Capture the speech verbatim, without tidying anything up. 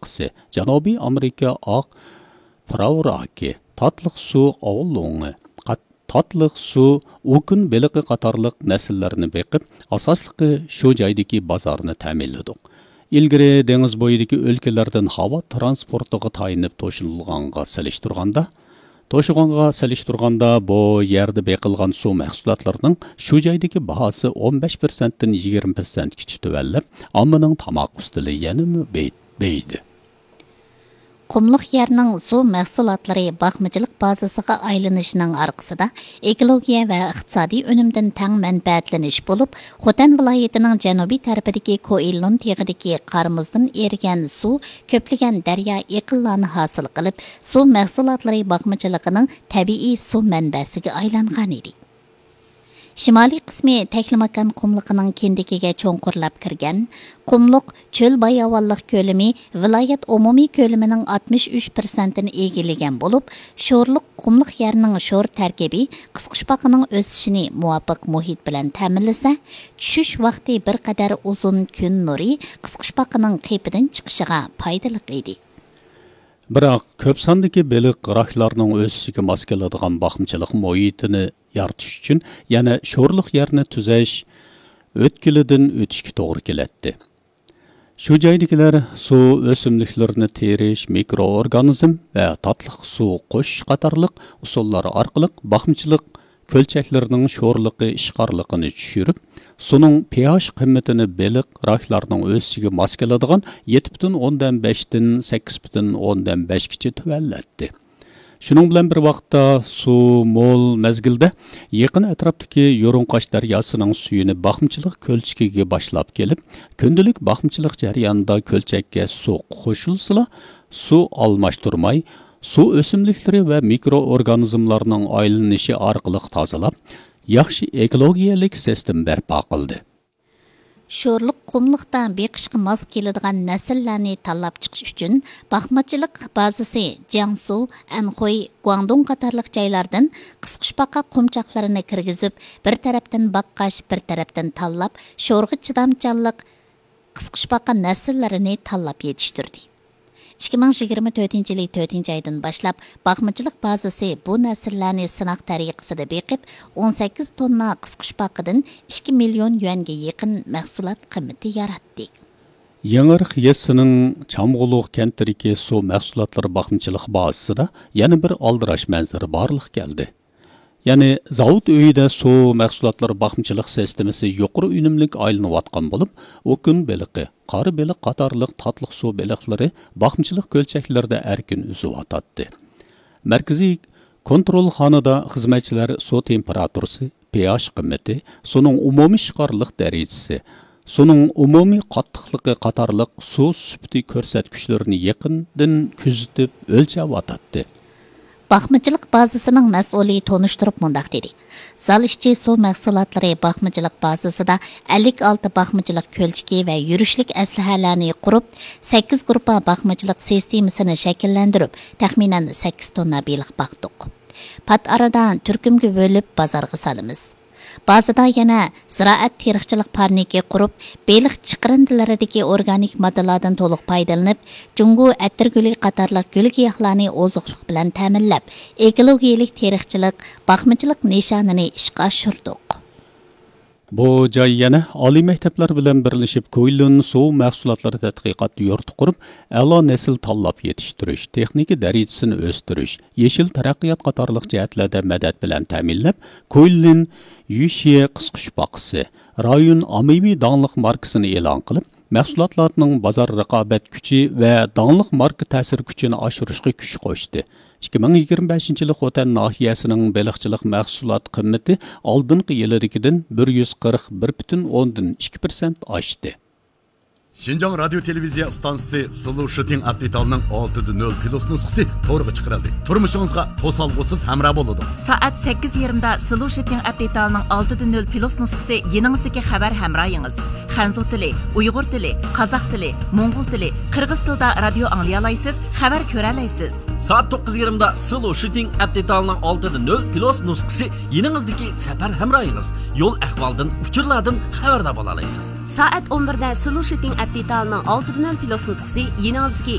قاتتىسى، جەنۇبىي ئامېرىكا ئاق پراۋراكى، تاتلىق سۇ ئاۋلوڭى، قات-، تاتلىق سۇ ئوكۇن بېلىقى قاتارلىق نەسىللەرنى بېقىپ، ئاساسلىقى شۇ جايدىكى بازارنى تەمىنلىدۇق. ئىلگىرى دېڭىز بويىدىكى ئۆلكىلەردىن ھاۋا ترانسپورتىغا تايىنىپ توشۇلغانغا سېلىشتۇرغاندا، توشۇغانغا سېلىشتۇرغاندا، بۇ يەردە بېقىلغان سۇ مەھسۇلاتلىرىنىڭ شۇ جايدىكى باھاسى ئون بەش پىرسەنتتىن يىگىرمە پىرسەنتكىچە تۆۋەنلەپ، ئاممىنىڭ تاماق ئۈستىلى يەنىمۇ بېي-، بېيىدى. قۇملۇق يەرنىڭ سۇ مەھسۇلاتلىرى باقمىچىلىق بازىسىغا ئايلىنىشىنىڭ ئارقىسىدا ئېكولوگىيە ۋە ئىقتىسادىي ئۈنۈمدىن تەڭ مەنپەئەتلىنىش بولۇپ، خوتەن ۋىلايىتىنىڭ جەنۇبىي تەرىپىدىكى كوئىلون تېغىدىكى قار مۇزدىن ئېرىگەن سۇ كۆپلىگەن دەريا ئېقىنلارنى ھاسىل قىلىپ، سۇ مەھسۇلاتلىرى باقمىچىلىقىنىڭ تەبىئىي سۇ مەنبەسىگە ئايلانغان ئىدى. شىمالىي قىسمى تەكلىماكان قۇملۇقىنىڭ كىندىكىگە چوڭقۇرلاپ كىرگەن. قۇملۇق چۆل باياۋانلىق كۆلىمى ۋىلايەت ئومۇمىي كۆلىمىنىڭ ئاتمىش ئۈچ پىرسەنتىنى ئىگىلىگەن بولۇپ، شورلۇق قۇملۇق يەرنىڭ شور تەركىبى قىسقۇچپاقىنىڭ ئۆسۈشىنى مۇۋاپىق مۇھىت بىلەن تەمىنلىسە، چۈشۈش ۋاقتى بىر قەدەر ئۇزۇن كۈن نۇرى قىسقۇچپاقىنىڭ قېپىدىن چىقىشىغا پايدىلىق ئىدى. بىراق، كۆپ ساندىكى بېلىق راكلارنىڭ ئۆسۈشىگە ماس كېلىدىغان باقمىچىلىق مۇھىتىنى يارىتىش ئۈچۈن يەنە شورلۇق يەرنى تۈزەش ئۆتكىلىدىن ئۆتۈشكە توغرا كېلەتتى. شۇ جايدىكىلەر سۇ ئۆسۈملۈكلىرىنى تېرىش، مىكرو ئورگانىزم ۋە تاتلىق سۇ قوشۇش قاتارلىق ئۇسۇللار ئارقىلىق باقمىچىلىق كۆلچەكلىرىنىڭ شورلۇقى ئىشقارلىقىنى چۈشۈرۈپ، سۇنىڭ پىئاش قىممىتىنى بېلىق راكلارنىڭ ئۆسۈشىگە ماس كېلىدىغان يەتتە پۈتۈن ئوندىن بەشتىن سەككىز پۈتۈن ئوندىن بەشكىچە تۆۋەنلەتتى. شۇنىڭ بىلەن بىر ۋاقىتتا، سۇ مول مەزگىلدە يېقىن ئەتراپتىكى يۇرۇڭقاش دەرياسىنىڭ سۈيىنى باقمىچىلىق كۆلچىكىگە باشلاپ كېلىپ، كۈندىلىك باقمىچىلىق جەريانىدا كۆلچەككە سۇ قوشۇلسىلا، سۇ ئالماشتۇرماي، سۇ ئۆسۈملۈكلىرى ۋە مىكرو ئورگانىزملارنىڭ ئايلىنىشى ئارقىلىق تازىلاپ، ياخشى ئېكولوگىيەلىك سىستېما بەرپا قىلدى. شورلۇق قۇملۇقتا بېقىشقا ماس كېلىدىغان نەسىللەرنى تاللاپ چىقىش ئۈچۈن، باقمىچىلىق بازىسى جياڭسۇ، ئەنخۇي، گۇاڭدۇڭ قاتارلىق جايلاردىن قىسقۇچپاقا قۇمچاقلىرىنى كىرگۈزۈپ، بىر تەرەپتىن باققاچ، بىر تەرەپتىن تاللاپ، شورغا چىدامچانلىق قىسقۇچپاقا نەسىللىرىنى تاللاپ يېتىشتۈردى. ئىككى مىڭ يىگىرمە تۆتىنچى يىلى تۆتىنچى ئايدىن باشلاپ، باقمىچىلىق بازىسى بۇ نەسىللەرنى سىناق تەرىقىسىدە بېقىپ، ئون سەككىز توننا قىسقۇچپاقىدىن ئىككى مىليون يۈەنگە يېقىن مەھسۇلات قىممىتى ياراتتى. يېڭىئېرىق يېزىسىنىڭ چامغۇلۇق كەنتىدىكى سۇ مەھسۇلاتلىرى باقمىچىلىق بازىسىدا يەنە بىر ئالدىراش مەنزىرە بارلىققا كەلدى. يەنى زاۋۇت ئۆيىدە سۇ مەھسۇلاتلىرى باقمىچىلىق سىستېمىسى يۇقىرى ئۈنۈملۈك ئايلىنىۋاتقان بولۇپ، ئوكۇن بېلىقى، قارا بېلىق قاتارلىق تاتلىق سۇ بېلىقلىرى باقمىچىلىق كۆلچەكلىرىدە ئەركىن ئۈزۈۋاتاتتى. مەركىزىي كونترولخانىدا خىزمەتچىلەر سۇ تېمپېراتۇرىسى، پىئاش قىممىتى، سۇنىڭ ئومۇمىي ئىشقارلىق دەرىجىسى، سۇنىڭ ئومۇمىي قاتتىقلىقى قاتارلىق سۇ سۈپىتى كۆرسەتكۈچلىرىنى يېقىندىن كۆزىتىپ ئۆلچەۋاتاتتى. باقمىچىلىق بازىسىنىڭ مەسئۇلى تونۇشتۇرۇپ مۇنداق دېدى: زال ئىچى سۇ مەھسۇلاتلىرى باقمىچىلىق بازىسىدا ئەللىك ئالتە باقمىچىلىق كۆلچىكى ۋە يۈرۈشلۈك ئەسلىھەلەرنى قۇرۇپ، سەككىز گۇرۇپپا باقمىچىلىق سىستېمىسىنى شەكىللەندۈرۈپ، تەخمىنەن سەككىز توننا بېلىق باقتۇق. پات ئارىدا تۈركۈمگە بۆلۈپ، بازارغا سالىمىز. بازىدا يەنە زىرائەت تېرىقچىلىق پارنىكى قۇرۇپ، بېلىق چىقىرىندىلىرىدىكى ئورگانىك ماددىلاردىن تولۇق پايدىلىنىپ، جۇڭگو ئەتىرگۈلى قاتارلىق گۈل-گىياھلارنى ئوزۇقلۇق بىلەن تەمىنلەپ، ئېكولوگىيەلىك تېرىقچىلىق، باقمىچىلىق نىشانىنى ئىشقا ئاشۇردۇق. بۇ جاي يەنە ئالىي مەكتەپلەر بىلەن بىرلىشىپ، كۇيلۇن سۇ مەھسۇلاتلىرى تەتقىقات يۇرتى قۇرۇپ، ئەلا نەسىل تاللاپ يېتىشتۈرۈش، تېخنىكا دەرىجىسىنى ئۆستۈرۈش، يېشىل تەرەققىيات قاتارلىق جەھەتلەردە مەدەت بىلەن تەمىنلەپ، كۇيلىن يۈشيې قىسقۇچپاقىسى، رايون ئاممىۋى داڭلىق ماركىسىنى ئېلان قىلىپ، مەھسۇلاتلارنىڭ بازار رىقابەت كۈچى ۋە داڭلىق ماركا تەسىر كۈچىنى ئاشۇرۇشقا كۈچ قوشتى. ئىككى مىڭ يىگىرمە بەشىنچى يىلى خوتەن ناھىيەسىنىڭ بېلىقچىلىق مەھسۇلات قىممىتى ئالدىنقى يىلىدىكىدىن بىر يۈز قىرىق بىر پۈتۈن ئوندىن ئىككى پىرسەنت ئاشتى. شىنجاڭ رادىيو تېلېۋىزىيە ئىستانسىسى سىلۇ شىتىڭ ئەپ دېتالىنىڭ ئالتىدە نۆل پلۇس نۇسخىسى تورغا چىقىرىلدى. تۇرمۇشىڭىزغا توسالغۇسىز ھەمراھ بولىدۇ. سائەت سەككىز يېرىمدا سىلۇ شىتىڭ ئەپ دېتالىنىڭ ئالتىدە نۆل پلۇس نۇسخىسى يېنىڭىزدىكى خەۋەر ھەمراھىڭىز. خەنزۇ تىلى، ئۇيغۇر تىلى، قازاق تىلى، موڭغۇل تىلى، قىرغىز تىلىدا رادىيو ئاڭلىيالايسىز، خەۋەر كۆرەلەيسىز. سائەت توققۇز يېرىمدا سىلۇ شىتىڭ ئەپ دېتالىنىڭ ئالتىدە نۆل پلۇس نۇسخىسى يېنىڭىزدىكى سەپەر ھەمراھىڭىز. يول ئەھۋالدىن، ئۇچۇرلاردىن خەۋەردار بولالايسىز. سائەت ئون بىردە سىلۇ شىتىڭ ئەپ دېتالىنىڭ ئالتىدە نۆل پلۇس نۇسخىسى يېنىڭىزدىكى